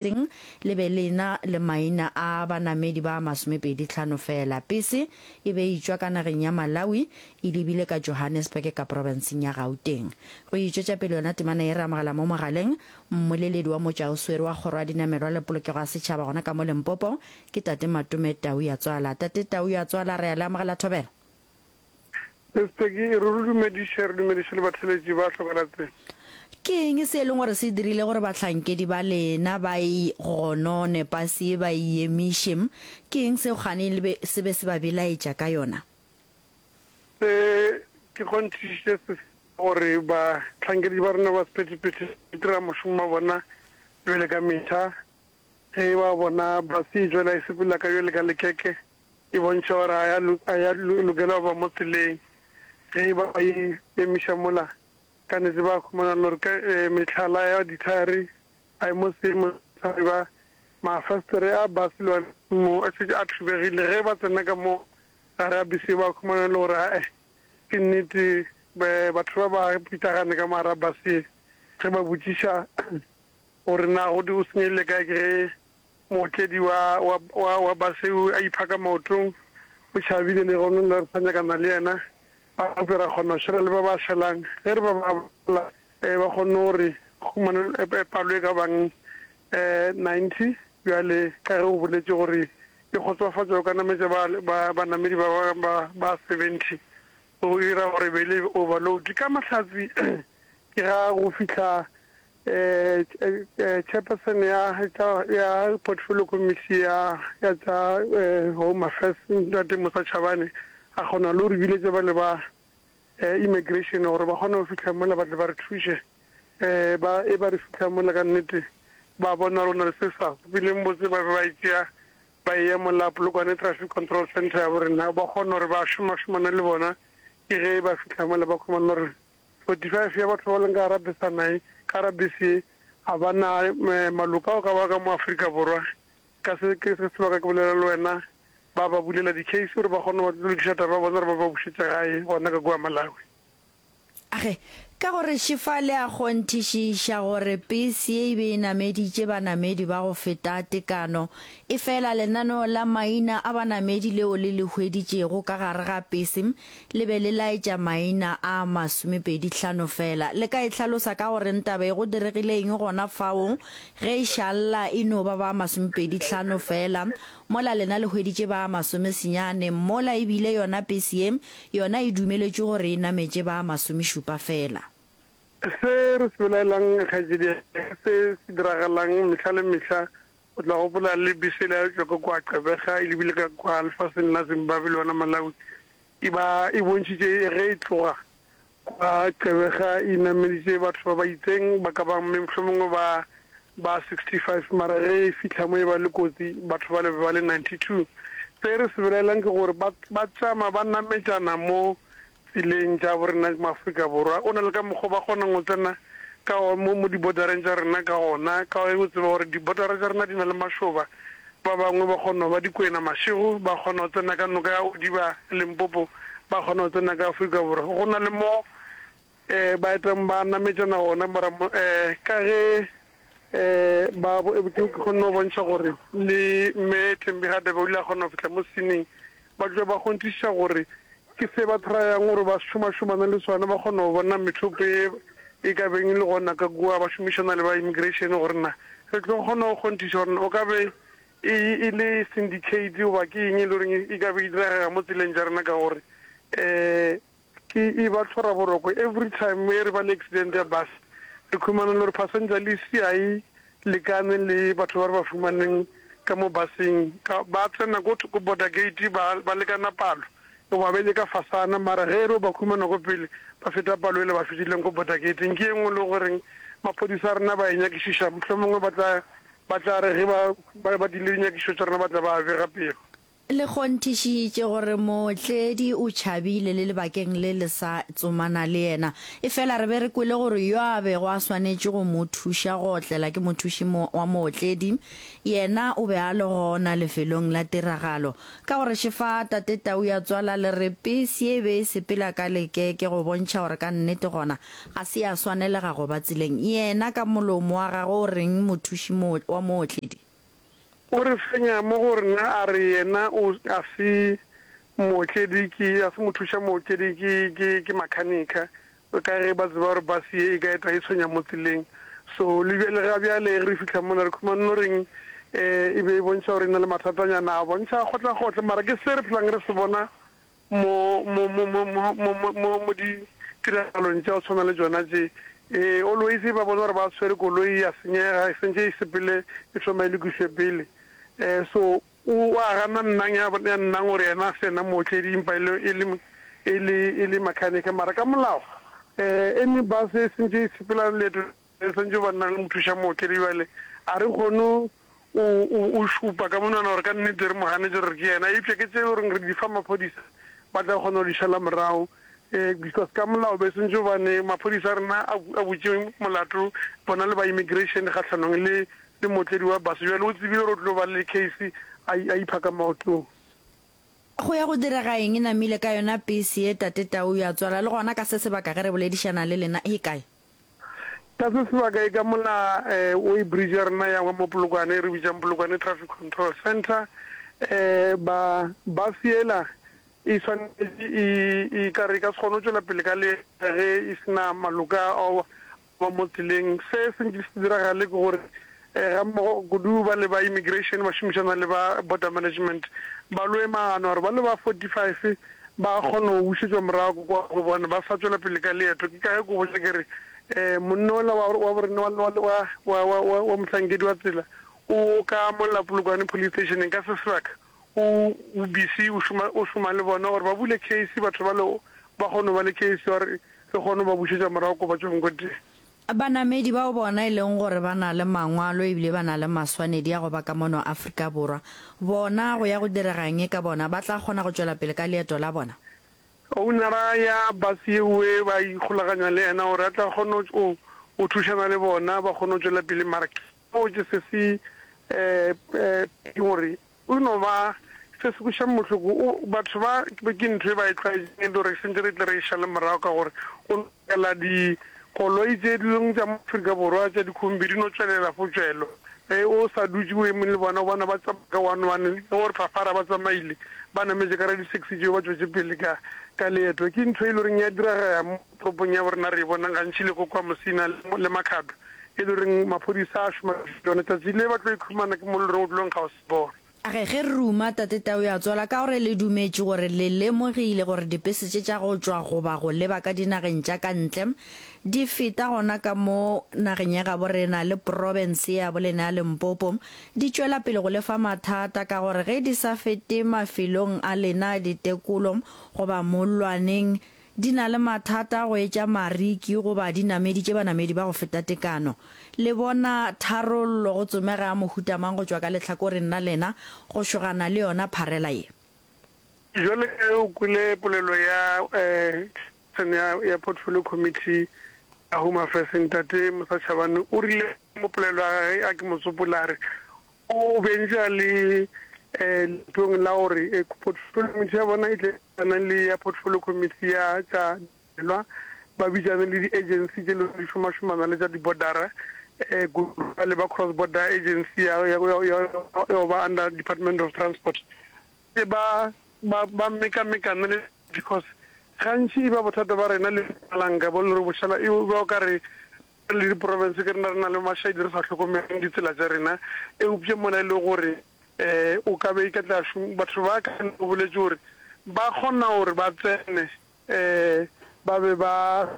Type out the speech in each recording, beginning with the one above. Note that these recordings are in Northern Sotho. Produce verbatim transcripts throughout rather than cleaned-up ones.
Teng le be le na le maina a banamedi ba masomepedi hlano feela. Pese e be e tšwa ka nageng ya Malawi e lebile ka Johannesburg ka profenseng ya Gauteng. Go itšwetša pele yona temana ye re amogela mo mogaleng mmoleledi wa motšwaoswere wa kgoro ya dinamelwa le polokego ya setšhaba gona ka mo Limpopo ke Tate Matome Tauyatswala. Tate Tauyatswala re a le amogela thobela. Sesteki, re re dumediše, re dumediše le batheeletši ba Hlokalatse. Ke eng se e leng gore se dirile gore bahlankedi ba lena ba e gonone pase ye ba e emiše? Ke eng seo kgane le be se be se ba belaetša ka yona? Se ke kgonthišiše se gore bahlankedi ba rena ba sephethephethe ba dira mošomo wa bona bjale ka mehla. Ge ba bona base e tšwela e sepela ka bjale ka lekeke, e bontšha gore ga ya lokela go ba mo tseleng. Ge e ba ba e emiša mola, ka nnete ba humana le gore ka mehlala ya dithaere ga e mo seemong sa ba. Mafastere a base le one mo a šetše a thubegile. Ge ba tsena ka mo gare ga bese ba humana le gore ae ke nnete batho ba ba pitlagane ka mo gare ga base. Ge ba botšiša gore na go o senyegile kae ke ge mootledi wa wa wa wa base a iphaka maotong o tšhabile le gona le re sa nyakana le yena. Gape ra kgona go šala le ba ba šalang. Ge re ba bala ba kgonne gore humane palo e ka bang ninety. Bjale ka ge o boletše gore e kgotsofatša o ka nametša ba banamedi ba ba ba seventy, o dira gore be le overload. Ka mahlatse ke ga go fihla chairperson ya ya portfolio committee ya ya tša Home Affairs Ntate Musa Chabane a kgona le gore biletše ba le ba immigration gore ba kgone go fihla mola ba tle ba re thuše. Ba e ba re fihla mola ka nnete ba bona gore na le se sa sepeleng botse, ba be ba e tšea ba e ya mola Polokwane Traffic Control Centre ya borena, ba kgona gore ba šoma-šomane le bona. Ke ge ba fihla mola ba khumana gore forty-five ya batho ba leng ka gara besana e ka gara bese ye ga ba na maloko ao ka ba ka mo Afrika Borwa. Ka se ke se sebaka ke bolela le wena, ba ba bulela di-case gore ba kgone go lokiša taba ya bona gore ba ba bušetše gae gona ka kua Malawi. Age, ka gore Šifa le a kgonthišiša gore pese ye e be e nameditše banamedi ba go feta tekano, efela lenaneo la maina a banamedi leo le le hweditšego ka gare ga pese le be le laetša maina a masomepedi hlano fela. Le ka e hlalosa ka go reng taba ye? Go diregile eng gona fao ge e šalla e no ba ba masomepedi hlano fela, mola lena le hweditše ba masomesenyane, mola e bile yona pese ye yona e dumeletšwe gore e nametše ba masomešupa fela? Se re se belaelang kgaetšedi ya ka, se se diragalang mehla le mehla, o tla gopola le bese yela ya tšwa ka kua Gqeberha e lebile ka kua lefaseng la Zimbabwe le yona Malawi, e ba e bontšhitše ge e tloga kwa Gqeberha e nameditše batho ba ba itseng ba ka bang mme mohlomongwe ba ba sixty-five, mara ge e fihla mo e ba le kotsi batho ba le be ba le ninety-two. Se re se belaelang ke gore ba ba tšama ba nametšana mo tseleng tša borena mo Afrika Borwa. O na le ka mokgwa ba kgonang go tsena ka mo mo di-bordereng tša rena ka gona, ka ge o tseba gore di-bordera tša rena di na le mašoba. Ba bangwe ba kgona go ba dikwena mašego, ba kgona go tsena ka noka ya Odiba, Limpopo, ba kgona go tsena ka Afrika Borwa. Go na le mo um ba etang ba nametšana gona, mara um ka ge um ba ke kgonne go bontšha gore le mme Thembi Hadebe o ile a kgona go fihla mo sceneng, ba tloga ba kgonthišiša gore ke se ba tryang gore ba šoma-šomane le sona, ba kgona go bona methopo e e ka beng e le gona ka kua, ba šomišana le ba immigration gore na re tlo kgona go kgonthiša gore o ka be e e le syndicate goba ke eng e le goreng e ka be e diragega mo tseleng tša rena, ka gore um ke e ba tlhora boroko every time e re ba le accident ya bus, re khumana le gore passenger list ga e lekane le batho ba re ba fumaneng ka mo buseng. Ka ba tsena ko ko border gate ba ba lekana palo goba ba ile ka fasana, mara ge e re ba khumana ko pele ba feta palo ele ba fetileng ko border gate-eng. Ke e nngwe le goreng maphodisa a rena ba e nyakišiša, mohlomongwe ba tla ba tla re ge ba ba ba dile dinyakišišo tša rena ba tla ba bega pego. Le kgonthišitše gore mootledi o tšhabile le lebakeng le le sa tsomana le yena. Efela re be re kwele gore yo a bego a swanetše go mo thuša go otlela ke mothuši wa mootledi, yena o be a le gona lefelong la tiragalo. Ka gore šefa Tate Tau ya tswala le re pese ye e be e sepela ka lekeke go bontšha gore ka nnete gona ga se ya swanelega go ba tseleng. Yena ka molomo wa gagwe o reng mothuši wa mootledi? O re fenya mo go rena a re yena o a se mootledi ke a se mothuša mootledi ke ke ke makhanikha ka ge ba tseba gore bus ye e ka eta e tshwenya mo tseleng. So le bjale ga bjale ge re fihla mola re khumane no reng eh e be e bontšha gore e na le mathatanyana a bontšha kgotla-kgotla mara ke se re phelang re se bona mo, mo, mo, mo, mo, mo, mo, mo, mo ditiragalong tša go tshwana le tšona tše. Ee, always ba bona gore ba tshwere koloi ya senyega, e sentše e sepele e thoma e lokišwe pele. Eh, so o a gana nnang ya, ya nnang gore yena a se yena mootledi empa e le, e le, e le, e le mechanic. Mara ka molao, eh, any bus e sentše e sepela leeto e sentše ba nna le mothuša mootledi bjale a re kgone o, o, o šupa ka monwana gore ka nnete re mo ganetše gore ke yena, eupša ke tše e le goreng re di fa maphodisa ba tla kgona go di šala morago, um because ka molao be sentše gobane maphodisa a rena a, a butše molato bona le ba immigration kgahlanong le le mootledi wa bus, bjale o tsebile gore o tlo ba le case a, a ipha ka maotong. Go ya go direga eng e namile ka yona pese ye Tate Tau ya tswala le gona ka se sebaka ge re boledišana le lena e kae? Ka se sebaka e ka mola weigh bridge ya rena ya mo Polokwane e re bitšang Polokwane Traffic Control Centre, ba bus yela e swanetše e e ka re e ka se kgone go tšwela pele ka leeto ge e se na maloka ao ba mo tseleng. Se se nke se diragale ke gore ga mmogo kudu ba le ba immigration ba šomišana le ba border management ba loe maano gore ba le ba forty five ba kgone go bušetšwa morago kwa go bona ba sa tšwela pele ka leeto. Ke ka ge ko botša ke re um monna ola wa wa borena wa wa wa wa wa wa mohlankedi wa tsela o ka mola Polokwane police station ka se sebaka o o busy o šoma o šoma le bona gore ba bule case batho ba le ba kgone go ba le case gore re kgone go ba bušetša morago ko ba tšwang ko teng. Banamedi bao bona e leng gore ba na le mangwalo ebile ba na le maswanedi a go ba ka mono Afrika Borwa, bona go ya go direga eng ka bona? Ba tla kgona go tšwela pele ka leeto la bona? Ownera ya bus yeoe ba ikgolaganya le yena gore a tla kgone go go thušana le bona ba kgone go tšwela pele mara ke botše se se eh eh gore O no ba se se kwešang bohloko. O, batho ba, ke ntho e ba e tlwaetšeng e le gore sentše re tle re e šale morago ka gore go no tšwela dikoloi tše dingwe tša mo Afrika Borwa tša dikhombi di no tšwelela fo tšwelo. Ge o sa dutše o eme le bona o bona ba tsamaya ka one one ge o re phafara ba tsamaile ba nametše ka ra-di-taxi tšeo ba tšwetše pele ka, ka leeto. Ke ntho e le goreng ya diragega mo toropong ya borena re e bonang gantši le ko kwa Musina le, le Makhado e le goreng maphodisa a šoma ka tšona. Tšatši le ba tlo ikhumana ke mo e le goreng o tlo nkga o se bona. A re, Ge re ruma, Tate Tau ya tswala ka gore le dumetše gore le lemogile gore dipese tše tša go tšwa goba go leba ka dinageng tša ka ntle di feta gona ka mo nageng ya gabo rena le profense ya bolena ya Limpopo di tšwela pele go le fa mathata ka gore ge di sa fete mafelong a lena a ditekolo goba mollwaneng di na le mathata go etša mariki goba di nameditše banamedi ba go feta tekano. Le bona tharollo go tsomega ya mohuta mang go tšwa ka lehlakoreng la lena go šogana le yona pharela ye? Bjale ka ge o kwele polelo ya Chairperson ya, ya Portfolio Committee ya Home Affairs, Ntate Musa Chabane, o rile mo polelo ya gage a ke mo tsopola a re o be ntše a le leetong la gore Portfolio Committee ya bona e tle e le ya Portfolio Committee ya tša dinamelwa, ba bitšane le di-agency tše lego di šomašomana le tša di-bordera, kudu le ba Cross Border Agency ya ya ya ya go ba under Department of Transport, ba ba ba mekamekane le because gantši e ba bothata ba rena le Mpumalanga bo le gore bošala e ba o ka re re le diprofense ke rena re na le mašaedi re sa hlokomeleng ditsela tša rena, eupša mola e le gore um o ka be e ka tla batho ba ka o boletše gore ba kgona gore ba tsene um ba be ba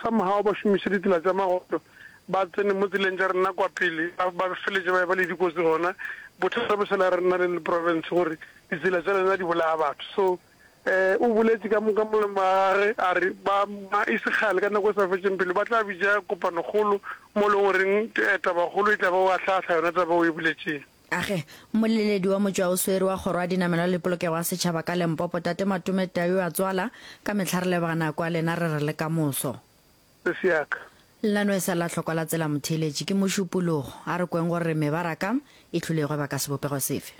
somehow ba šomiše ditsela tša magotlo ba tsene mo tseleng tša rena kwa pele ba feletše ba eba le dikotsi gona. Bothata bo šala rena le le province gore ditsela tša lena di bolaya batho. So um o boletše ka ka molomo wa gage a re ba ba e se kgale ka nako e sa fetšeng pelo ba tla bitša kopanokgolo mo e leng goreng tabakgolo e tla ba o ahlaahla yona taba o e boletšeng. Age, mmoleledi wa motšwaoswere wa Kgoro ya Dinamelwa le Polokego ya Setšhaba ka Limpopo, Tate Matome Tau a tswala, ka mehla re leboga nako ya lena, re re le ka moso. Sesi ya ka. Lenaneo e sa la hlokwa la tsela motheeletši, ke Mošupologo. A re kweng gore mebaraka e hlile e gweba ka sebopego sefe.